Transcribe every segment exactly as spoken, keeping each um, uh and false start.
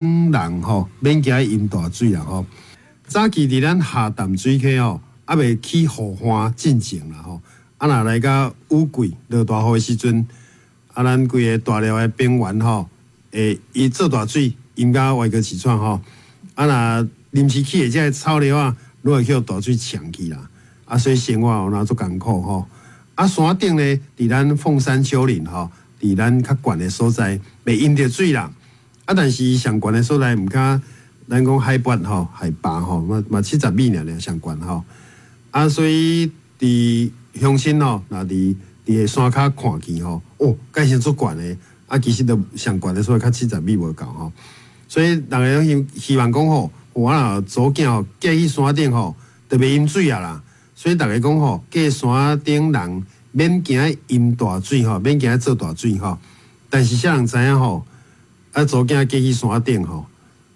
人吼免驚淹大水啦吼。早期佇咱下淡水溪吼，猶未起雨旱進前啦吼。啊，若來到雨季落大雨的時陣，啊，咱規個大寮的平原吼，會伊做大水淹甲歪哥市場吼。啊，若臨時起的這个草寮仔，攏會予大水沖去啦。啊，所以生活有哪足艱苦吼。啊，山頂咧，佇咱鳳山丘陵吼，佇咱較懸的所在，袂淹著水啦。啊，但是上懸的所在毋較咱講海拔吼，海拔吼，嘛嘛七十米爾爾上懸吼。啊，所以佇鄉親吼，若佇佇個山跤看去吼，哦，蓋成足懸的。啊，其實都上懸的所在較七十米無夠吼。所以人家攏希希望講吼，我若祖囝吼嫁去山頂吼，就袂淹水啊啦。所以逐家講吼，嫁山頂人免驚淹大水吼，免驚做大水吼。但是啥人知影吼？啊，祖囝嫁去山頂吼，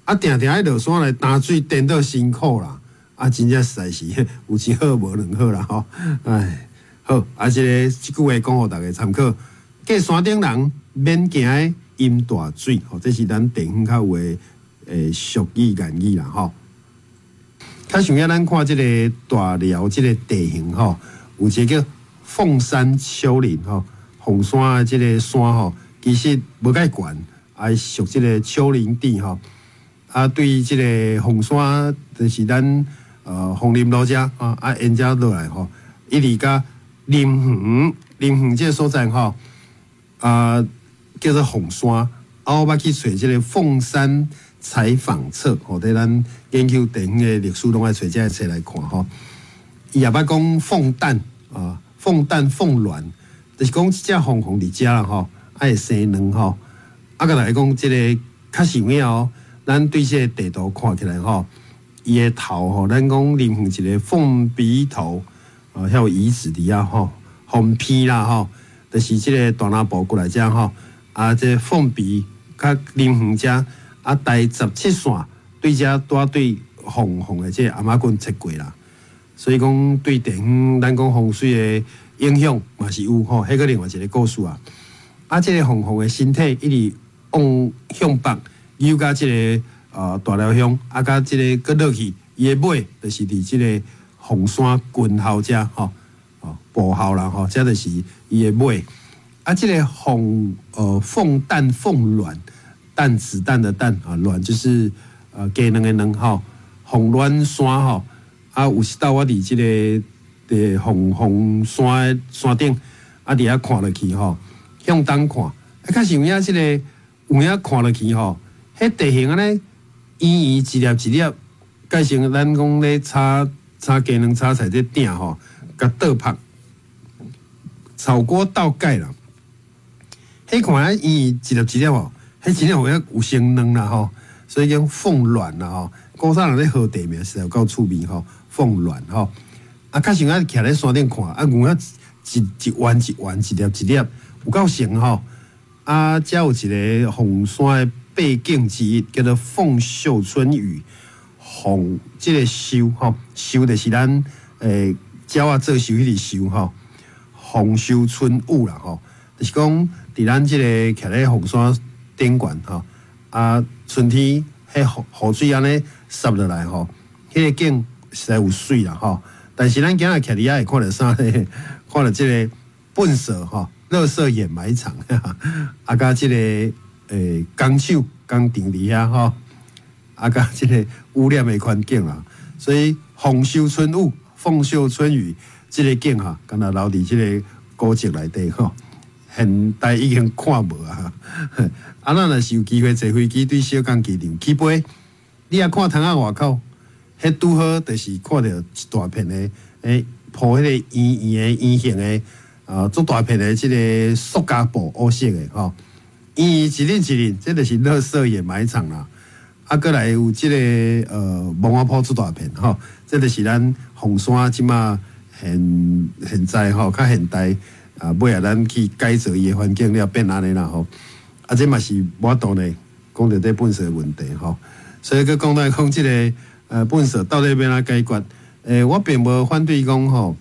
啊，定定愛落山來擔水，顛倒辛苦啦。啊，真正實在是有一好無兩好啦吼。唉，好，啊，這个這句話講予大家參考。嫁山頂人免驚淹大水，吼，這是咱地方較有的欸俗語諺語啦吼。較上要咱看這个大寮這个地形吼，有一个叫鳳山丘陵吼，鳳山的這个山吼，其實無蓋懸，啊屬這个丘陵地吼。啊，對這个鳳山，就是咱呃鳳林路遮啊，啊沿遮落來吼，一直到林園，林園這个所在吼，啊叫做鳳山。啊，我捌去揣這个鳳山採訪冊，吼，佇咱研究地方的歷史，攏愛揣這个冊來看吼。伊也捌講鳳蛋啊，鳳蛋鳳卵，就是講這隻鳳凰佇遮啦吼，愛會生卵吼。啊，閣來講這个確實有影哦。咱對這個地圖看起來吼，伊的頭吼，咱講林園一个鳳鼻頭，啊，遐有遺址佇遐吼，鳳鼻啦吼，就是這个大南部過來遮吼，啊，這鳳鼻較林園遮，啊，台十七線對遮拄對鳳凰的這个頷仔棍切過啦，所以講對地方咱講風水的影響嘛是有吼，彼個另外一个故事啊。啊，這个鳳凰的身體一直往向北。游到這个呃大寮鄉，啊，佮這个閣落去，伊的尾就是佇這个鳳山軍校遮吼，哦，步校啦吼，這就是伊的尾。啊，這个鳳呃鳳蛋鳳卵，蛋子彈的蛋啊，卵就是呃雞卵的卵吼，鳳卵山吼，啊，有一道我佇這个佇鳳鳳山的山頂，啊，佇遐看落去吼，向東看，啊，確實有影這个有影看落去吼。彼地形按呢，圓圓一粒一粒，改成咱講咧炒炒雞卵炒菜這鼎吼，共倒拍，炒鍋倒蓋啦。彼看啊圓圓一粒一粒吼，彼真正有影有生卵啦吼，所以叫鳳卵啦吼。古早人咧號地名實在有夠趣味吼，鳳卵吼。啊，確實啊，徛咧山頂看，啊，有影一一圓一圓一粒一粒，有夠成吼。啊，遮有一个鳳山的八景之一，叫做鳳秀春雨。鳳這个秀吼，秀就是咱欸鳥仔做秀彼个秀吼，鳳秀春雨啦吼，就是講佇咱這个徛咧鳳山頂懸吼，啊春天彼雨雨水按呢捎落來吼，彼个景實在有媠啦吼。但是咱今仔徛佇遐會看著啥咧？看著這个糞埽吼，垃圾掩埋場，啊，佮這个欸工廠工廠佇遐吼，啊，佮這个污染的環境啦，所以鳳秀春雨、鳳秀春雨這个景哈，敢若留佇這个古蹟內底吼，現代已經看無啊。啊，咱若是有機會坐飛機對小港機場起飛，你若看窗仔外口，彼拄好就是看著一大片的，欸，鋪彼个圓圓的圓形的，啊，足大片的這个塑膠布烏色的吼，圓圓一粒一粒，這就是垃圾掩埋場啦。啊，閣來有這个呃，墓仔埔足大片吼，這就是咱鳳山這馬現現在吼較現代啊，尾仔咱去改造伊的環境了變按呢啦吼。啊，這嘛是無法度呢，講著這糞埽的問題吼。所以閣講來講這个呃糞埽到底欲按怎解決？欸，我並無反對講吼，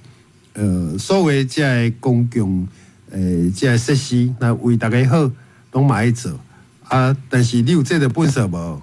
呃，所謂這个公共欸這个設施，若為大家好，攏嘛愛做啊。但是你有這個糞埽無？